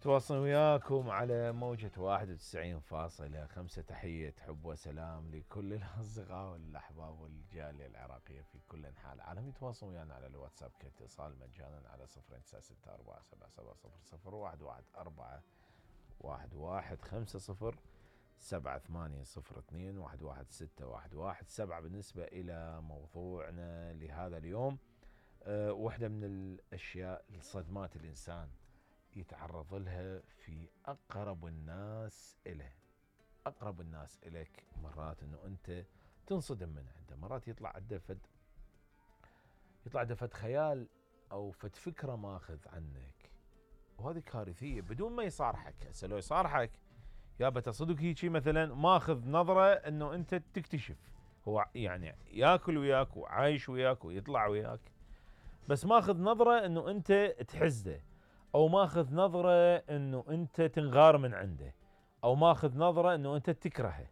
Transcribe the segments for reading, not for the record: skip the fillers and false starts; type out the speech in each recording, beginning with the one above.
تواصل وياكم على موجة 91.5. تحية حب وسلام لكل الأصدقاء والأحباب والجالية العراقية في كل أنحاء العالم. يتواصلون ويانا على الواتساب كاتصال مجانا على 096477001150 بالنسبة إلى موضوعنا لهذا اليوم. واحدة من الأشياء الصدمات الإنسان يتعرض لها في أقرب الناس إله. أقرب الناس إليك مرات أنه أنت تنصدم من عنده، مرات يطلع عنده فد خيال أو فد فكرة ماخذ عنك، وهذه كارثية بدون ما يصارحك. هسه لو يصارحك يابا تصدق هيجي مثلا ماخذ نظرة أنه أنت تكتشف، هو يعني ياكل وياك وعايش وياك ويطلع وياك، بس ماخذ نظرة أنه أنت تحزده، أو ماخذ نظرة أنه أنت تنغار من عنده، أو ماخذ نظرة أنه أنت تكرهه.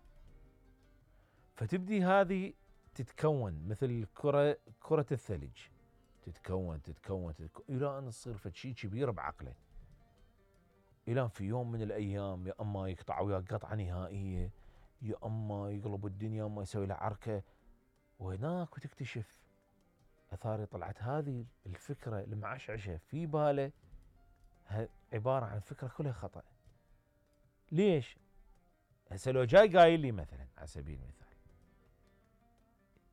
فتبدي هذه تتكون مثل كرة الثلج، تتكون إلى أن تصير فد شيء كبير بعقله، إلى في يوم من الأيام يا أما يقطع وياك قطعة نهائية، يا أما يقلب الدنيا، أما يسوي له عركة، وهناك وتكتشف أثاري طلعت هذه الفكرة المعشعشة في باله عبارة عن فكرة كلها خطأ. ليش؟ هسه لو جاي قايل لي مثلا على سبيل المثال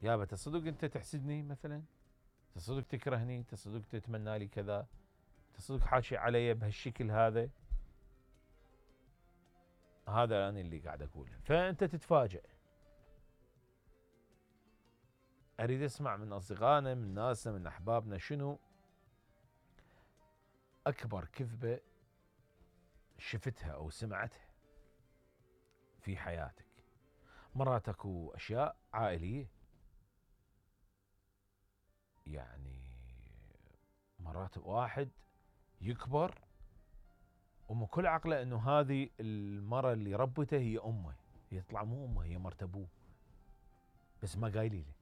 يابا تصدق أنت تحسدني مثلا، تصدق تكرهني، تصدق تتمنى لي كذا، تصدق حاشي علي بهالشكل هذا أنا اللي قاعد أقوله. فأنت تتفاجأ. أريد أسمع من أصدقائنا، من ناسنا، من أحبابنا، شنو أكبر كذبة شفتها أو سمعتها في حياتك. مرات أكو أشياء عائلية، يعني مرات واحد يكبر ومن كل عقله أنه هذه المرة اللي ربته هي أمه، يطلع مو أمه، هي مرت أبوه، بس ما قايلي له.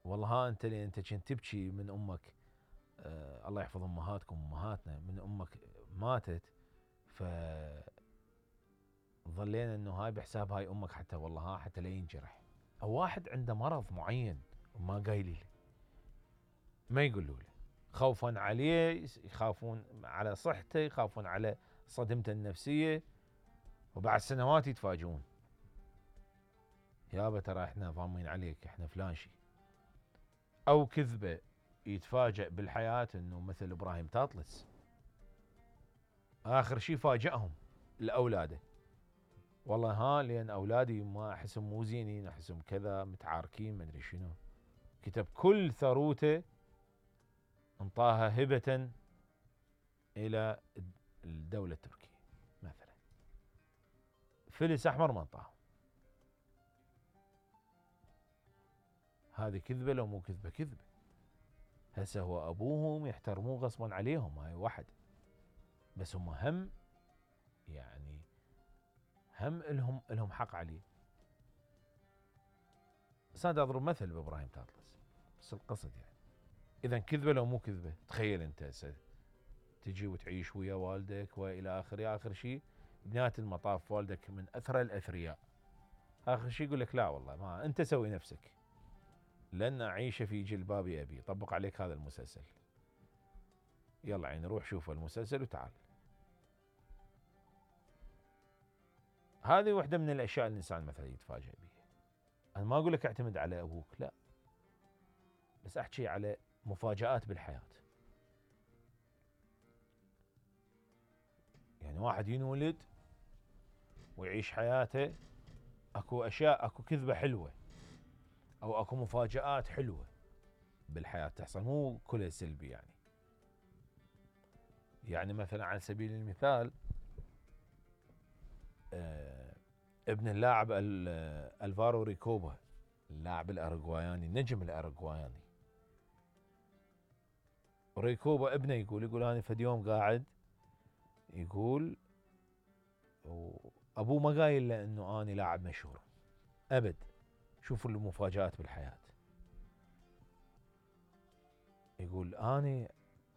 والله ها أنت اللي أنت كنت تبكي من أمك، الله يحفظ أمهاتكم أمهاتنا، من أمك ماتت ظلينا أنه هاي بحساب هاي أمك، حتى والله ها حتى لا ينجرح. أو واحد عنده مرض معين وما قايلي له، ما يقولوا له، خوفا عليه، يخافون على صحته، يخافون على صدمته النفسية، وبعد سنوات يتفاجئون يابا ترى احنا ضامين عليك، احنا فلان شي. او كذبة يتفاجئ بالحياة انه مثل ابراهيم تاطلس اخر شي فاجئهم لاولاده، والله ها لان اولادي ما احسهم مو زينين، احسهم كذا متعاركين ما ادري شنو، كتب كل ثروته انطاها هبة الى الدولة التركية مثلا، فلس احمر ما انطاهم. هذه كذبة لو مو كذبة؟ كذبة. هسه هو ابوهم يحترموه غصبا عليهم، هاي واحد، بس هم هم يعني هم لهم حق عليه. بس انا اضرب مثل بابراهيم تاطلس بس القصد يعني. اذا كذبة لو مو كذبة؟ تخيل انت تجي وتعيش ويا والدك والى اخره، اخر شيء بنهاية المطاف والدك من اثرى الاثرياء، اخر شيء يقول لك لا والله ما انت سوي نفسك، لن اعيش في جلباب ابي. طبق عليك هذا المسلسل، يلا عين روح شوف المسلسل وتعال. هذه واحدة من الاشياء اللي الانسان مثلا يتفاجئ بها. انا ما اقول لك اعتمد على ابوك، لا، بس احكي على مفاجآت بالحياة. يعني واحد ينولد ويعيش حياته، اكو اشياء، اكو كذبة حلوة او اكو مفاجآت حلوة بالحياة تحصل، مو كلها سلبي يعني. يعني مثلا على سبيل المثال ابن اللاعب الفارو ريكوبا، اللاعب الأرجواياني، النجم الأرجواياني ريكوبا، ابنه يقول أنا فد يوم قاعد يقول أبوه ما قايل له أنه أنا لاعب مشهور أبد. شوفوا المفاجآت بالحياة. يقول أنا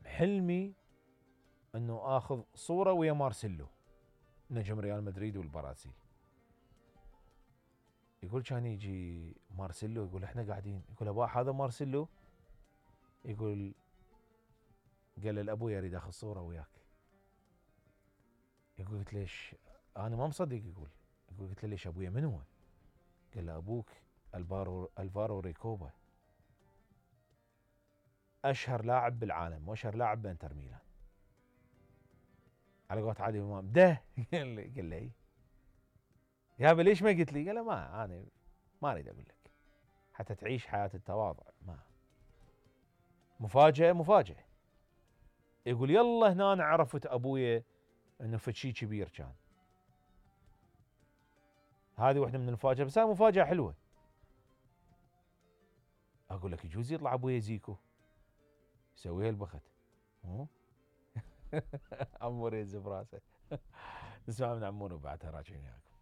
حلمي انه اخذ صوره ويا مارسيلو نجم ريال مدريد والبرازيل. يقول كان يجي مارسيلو يقول احنا قاعدين، يقول ابا هذا مارسيلو؟ يقول قال له لابوي اريد اخذ صوره وياك. يقول قلت ليش؟ انا ما مصدق. يقول قلت له ليش ابويا من هو؟ قال له ابوك الفارو ريكوبا، اشهر لاعب بالعالم واشهر لاعب بانتر ميلان. على قولة عادل امام ده قال له يابا ليش ما قلت لي؟ قال له ما انا ما اريد اقول لك حتى تعيش حياه التواضع. ما مفاجاه. يقول يلا هنا عرفت ابويا انه فشي كبير كان. هذه واحده من المفاجات، بس هاي مفاجاه حلوه. اقول لك يجوز يطلع ابويا زيكو يسويها البخت. عمور يهز براسه. نسمع من عمور وبعدها راجعين وياكم.